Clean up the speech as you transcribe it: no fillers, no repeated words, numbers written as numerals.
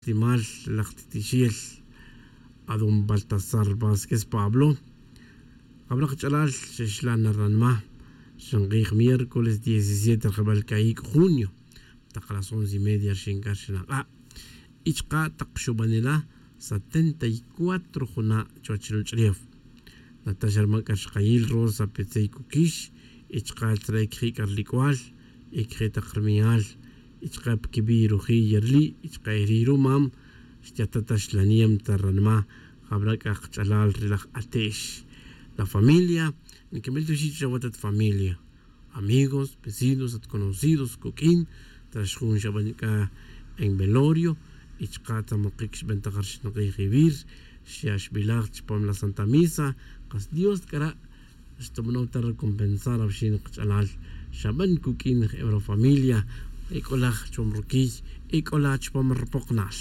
Timal laj titixiel a don Baltasar Vásquez Pablo, Ab'raq ch'alal xexlan ranma xinq'ij miércoles 17 rjeb'el ka'ik' junio taq las 11:30 xinkar xinaq'a' y chqa taq xub'anela 74 juna' chuwach ruwach'ulew. Natasha rma k'a rixjayil Rosa Petzey Kukix y chqa tzre kji' k'a rlik'wal y kji' taq rmi'al y chqa pkib'i' ruji' yerli' y chqa eri rumam xyata xlaniem ta ranma jab'ra k'a qch'alal ri laj ate'x. La familia nkib'il chawa tat familia, amigos, vecinos, at conocidos kuk'in trax jun xab'an k'a en velorio y chqa tzamoqik xb'an taq rxinq'ij iwir xya' xb'ilaj chupam la Santa Misa. Qas Dios k'a xtub'anun ta recompensar awxin qch'alal xab'an kuk'in familia e k'olaj chupam rukiy e k'ola chupam rpoqonal.